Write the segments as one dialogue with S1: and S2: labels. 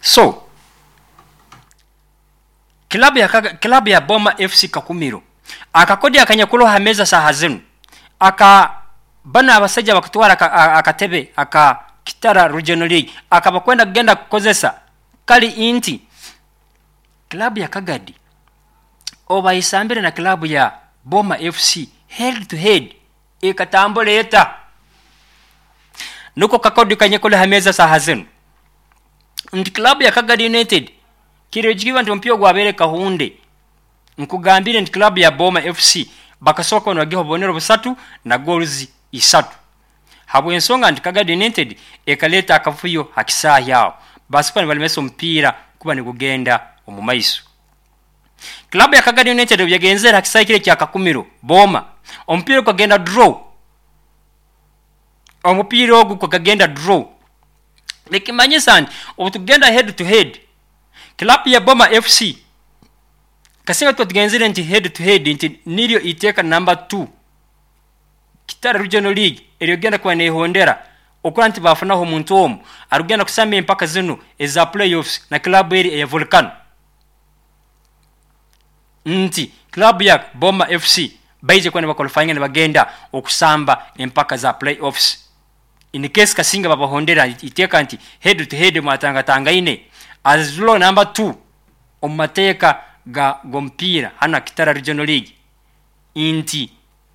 S1: So club ya Boma FC Kakumiro, akakodyo akanyakuroho ha meeza saaha zinu, aka banu abasajja bakutwara akatebe aka Kitara Regional League akabakwenda kugenda kukozesa, kali nti club ya Kagadi obu bayesambire na club ya Boma FC head to head, ekatambura eta? Nuko kakodyo kanyakuli ha meeza saaha zinu, nti club ya Kagadi United kireegikiba nti omupiira ogwabaire Kahunde, nkugambire nti club ya Boma FC bakasooka nibagiha obubonero 3 na goals 3, habw'ensonga nti Kagadi United ekaleeta akavuyo ha kisaahi aho, basobola nibalemesa omupiira kuba nigugenda omu maiso. Club ya Kagadi United obu yagenzere ha kisaahi kiri ekya Kakumiro Boma, omupiira gukagenda draw. Omupiira ogu gukagenda draw, nikimanyisa nti obu tugenda head to head, club ya Boma FC, kasinga tuba tugenzere nti head to head, nti niryo iteeka number 2 Kitara Regional League eryogenda kuba nehondera, okura nti bafunaho omuntu omu arugenda kusamba empaka zinu eza playoffs na club eri eya Volcano, nti club ya Boma FC baije kuba nibaqualifyinga nibagenda okusamba empaka za playoffs, in case kasinga babahondera iteeka nti head to head mwatangatangaine as law number 2 omu mateeka ga g'omupiira hano Kitara Regional League, nti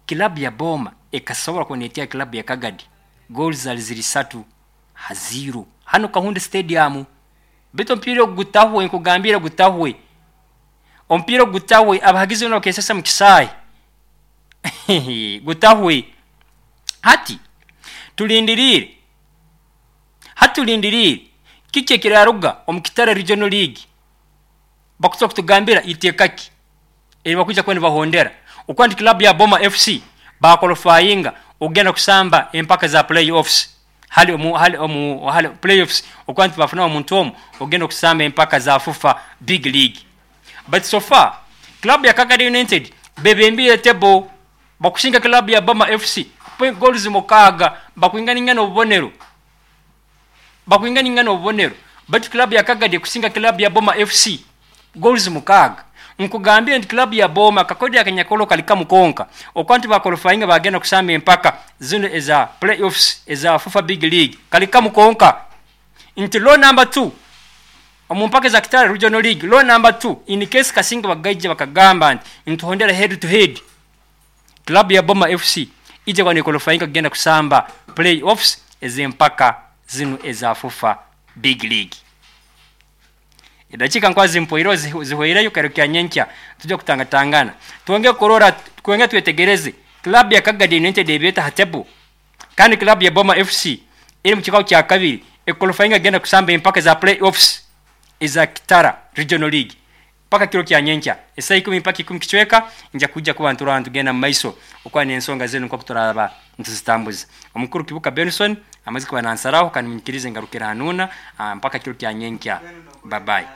S1: club ya Boma ekasobora kuneetya club ya Kagadi goals zali ziri 3-0 hano Kahunde Stadium. Bitu omupiira ogu gutahwe, nkugambire gutahwe, omupiira ogu gutahwe, abahagizi boona bakesesa mu kisaahi, gutahwe. Hati tulindiriire, hati tulindiriire kiki ekiraruga omu Kitara Regional League, bakusobola kutugambira iteeka ki eri bakwija kuba nibahondera, okuba nti club ya Boma FC baqualifyinga okugenda kusamba empaka za playoffs, hali omu hali omu hali playoffs, okuba nti bafunaho omuntu omu ogenda okusamba empaka za FUFA Big League. But so far club ya Kagadi United bebembire table, bakusinga club ya Boma FC goals 6, bakwinganingana obubonero, bakwinganingana obubonero, but club ya Kagadi kusinga club ya Boma FC goals 6. Nkugambire nti club ya Boma kakodi akanyakolo kali kamukonka, okuba nti baqualifyinga bagenda kusamba empaka zino eza playoffs eza FUFA Big League, kali kamukonka nti law number 2 omu mpaka za Kitara Regional League, law number 2, in case kasinga bagaija bakagamba nti ntuhondera head to head, club ya Boma FC ije kwa qualifyinga kugenda kusamba playoffs ez'empaka zino eza FUFA Big League. Edakika nkwazi mpoiro zihweireyo, kero nyenkya tujja kutangatangana, twongere kurora, twongere twetegereze club ya Kagadi United ebeta ha table, kandi club ya Boma FC eri mu kikao kya kabiri equalifyinga genda kusamba empaka za playoffs eza Kitara Regional League. Paka kiro kya nyenkya esaha 10 mpaka 10 kicweka, nja kujja kuba nturaba ntugenda mu maiso okuba n'ensonga zinu nkoku turaba ntuzitambuza. Omukuru Kibuka Benson amaze kuba nansaraho, kandi munyikirize ngarukira hanuuna mpaka kiro kya nyenkya. Bye bye.